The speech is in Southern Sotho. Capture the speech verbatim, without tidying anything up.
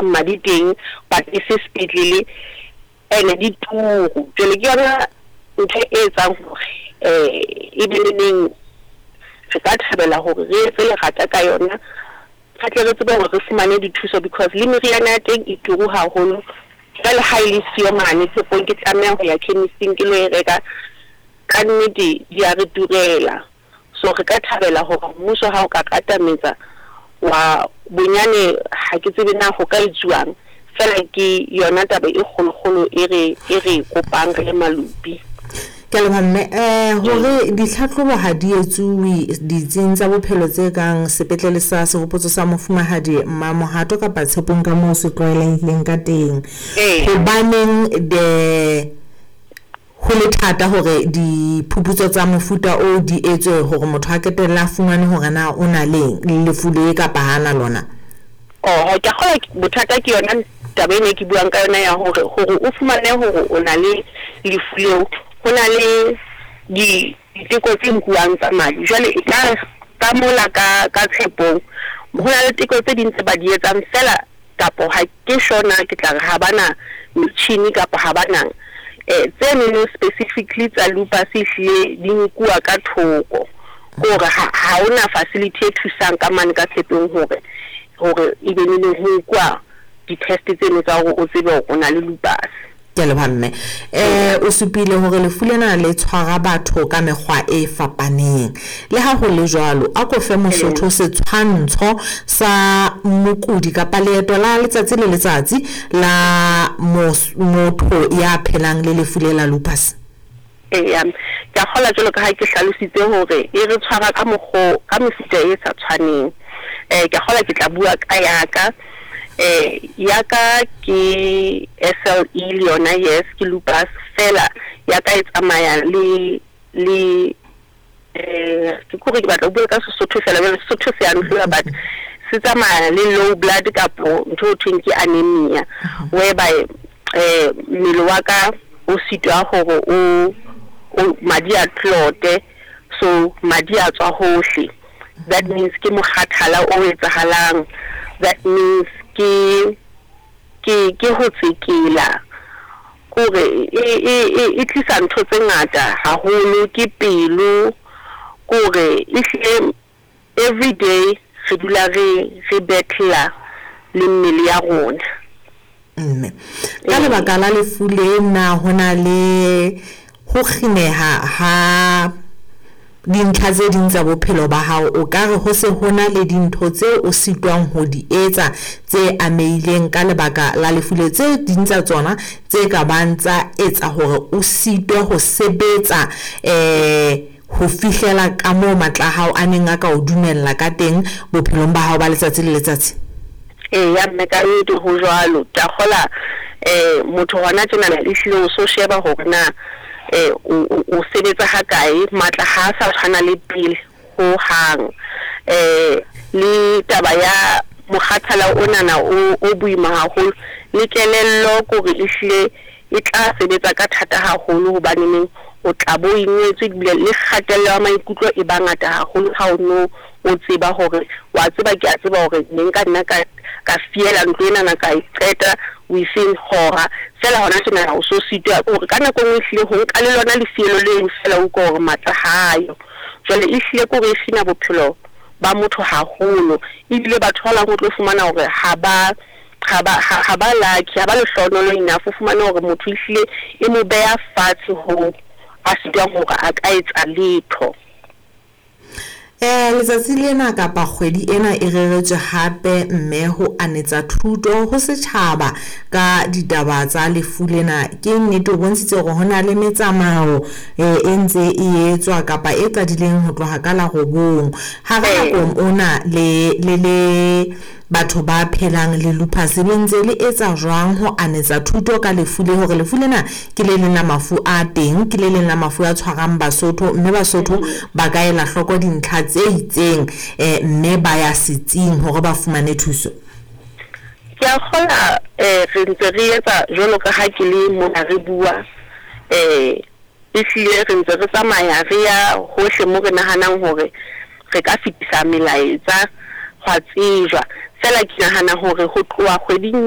Madi teng, but e se sepetlele, ene di turu. Jwale ke yona ntho e etsang hore um e be neneng re ka thabela hore re etse lerata ka yona, re tle re tsebe hore re fumane dithuso, because le meriana ya teng e turu haholo. Jwale ha e le siyo mane tshepong, ke tlameha ho ya chemist-ing ke lo e reka. Ka nnete di a re turela. So re ka thabela hore mmuso ha o ka katametsa wa bonyane, ha ke tsebe na ho ka etsuwang fela. Ke yona taba e kgolokgolo e re e re kopang re le malupi. Ke a leboha, mme. um hore ditlhatlhobo ha di etsuwe ditsing tsa bophelo tse kang sepetlele sa Sehopotso sa Mofumahadi Mamohato kapa Tshepong ka moo se tlwaelehileng ka teng, Ee. hobaneng de ho le thata hore diphuputso tsa mofuta o di etswe hore motho a qetelle a fumane hore na o na le lefu le kapa hana lona? Oho, ke a kgolwa bothata ke yona taba ena e ke buang ka yona ya hore hore o fumane hore o na le lefu leo, ho na le di diteko tse nkuwang tsa madi. Jwale e ka ka mola ka ka Tshepong ho na le teko tse ding tse ba di etsang fela, kapo ha ke sure na ke tla re ha bana metjhini kapa ha bana um tse nono specifically tsa lupus, ehlile di nkuwa ka thoko, hore ha ha hona facility e thusang ka mane ka Tshepong hore hore e be neneng ho nkuwa di-test tseno tsa hore o tsebe hore o na le lupus. Ke a leboha, mme. um o supile hore lefu lena le tshwara batho ka mekgwa e fapaneng. Le ha ho le jwalo, a ko fe Mosotho setshwantsho sa mokudi kapa leeto la letsatsi le letsatsi la motho ya phelang le lefu le la lupus. Eya, ke a kgolwa jwalo ka ha ke hlalositse hore e re tshwara ka mokgo ka mefuta e sa tshwaneng. um ke a kgolwa ke tla bua ka ya ka. um ya ka ke S L E le yona, yes, ke lupus fela. Ya ka e tsamaya le le eh ke kore ke batla ho bua ka Sesotho fela, jwale Sesotho se a ntlhola, but se tsamaya le low blood kapo ntho e thweng ke anemia, whereby eh mmele wa ka o sitwa hore o o madi a clote, so madi a tswa hohle. That means ke mokgathala o etsahalang, that means ke ke ke ho tsekela, kore e e e e tlisa ntho tse ngata haholo, ke pelo, kore ehlile every day re dula re re battle le mmele ya rona. Mme, ka lebaka la lefu lena, ho na le ho kgineha ha dintlha tse ding tsa bophelo ba hao? O ka re ho se ho na le dintho tseo o sitwang ho di etsa tse amehileng ka lebaka la lefu le, tse ding tsa tsona tse ka bang tsa etsa hore o sitwe ho sebetsa um ho fihlela ka moo matla a hao a neng a ka o dumella ka teng bophelong ba hao ba letsatsi le letsatsi? Eya mme, ka nnete ho jwalo. Ke a kgola um motho hona tjenana ehlile o so sheba hore na eh o o sebetsa ha kae, matla ha a sa tshwana le pele ho hang. eh le taba ya mokgathala onana o o boima haholo, le kelello kore ehlile e tla sebetsa ka thata haholo, hobaneneng o tla bo ingwetswe, ebile le kgatello ya maikutlo e ba ngata haholo ha o no o tseba hore wa tseba, ke a tseba hore ne nka nna ka ka fiela ntlo enana ka e qeta within hora fela. Hona tjena o so sitwa hore ka nako e nngwe ehlile ho nka le lona lefielo leno fela, o utlwa hore matla hayo. Jwale ehlile ke hore e kgina bophelo ba motho haholo, ebile batho ba bang o tlo fumana hore ha ba ha ba ha ba lucky, ha ba lehlohonolo enough. O fumane hore motho ehlile e mo beha fatshe ho a sitwang hore a ka etsa letho. Eh letsatsi lena kapa kgwedi ena e reretswe hape, mme, ho anetsa thuto ho setjhaba ka ditaba tsa lefu lena. Ke nnete o bontshitse hore ho na le metsamao e ntse e etswa kapa e qadileng ho tloha ka la robong. Hara nakong ona le le le batho ba phelang le lupus, le ntse le etsa jwang ho anetsa thuto ka lefu le, hore lefu lena ke le leng la mafu a teng, ke le leng la mafu a tshwarang Basotho, mme Basotho ba ka ela hloko dintlha tse itseng eh mme ba ya setsing hore ba fumane thuso? Ke a kgola um re ntse re etsa jwalo ka ha ke le mona re bua. um ehlile re ntse re tsamaya re ya hohle mo re nahanang hore re ka fetisa melaetsa, hwa tsejwa fela. Ke nahana hore ho tloha kgweding